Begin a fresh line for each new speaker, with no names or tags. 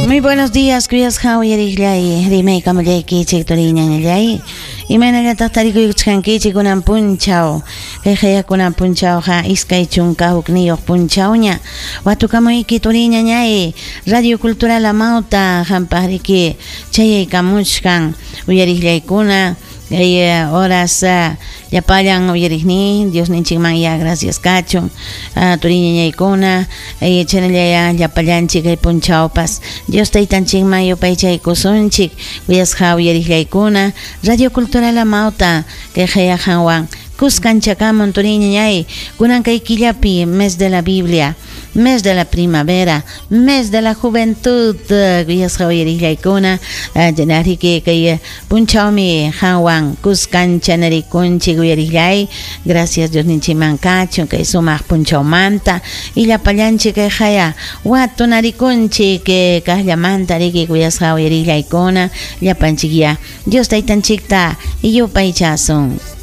Muy buenos días, kuyasqa uyariqllay, rimaykamullaykichik turiñañallay. Imaynallataq tarikuykuchkankichik kunan punchaw. Kay qaya kunan punchawqa 21 punchawña. Watukamuyki turiñañay, Radio Cultural Amauta qampaq riki chayaykamuchkan uyariqllaykuna. Kay horas llapallan uyariqnin Diosninchikman ya gracias kachun. Turiñañaykuna, chaynallaya llapallanchik kay punchawpas Dios taytanchikman yupaychaykusunchik. Kuyasqa uyariqllaykuna, Radio Cultural Amauta kay qaya qanwan kuskanchakamun turiñañay kunan kay killapi mes de la Biblia, mes de la primavera, mes de la juventud, kuyasqa uyariqllaykuna, riki kay punchawmi qanwan kuskanchanarikunchik uyariqllay. Gracias Diosninchikman kachun kay sumaq punchawmanta y llapallanchik kay qaya watunarikunchik kaqllamanta riki kuyasqa uyariqllaykuna llapanchik ya Dios taytanchikta yupaychasun.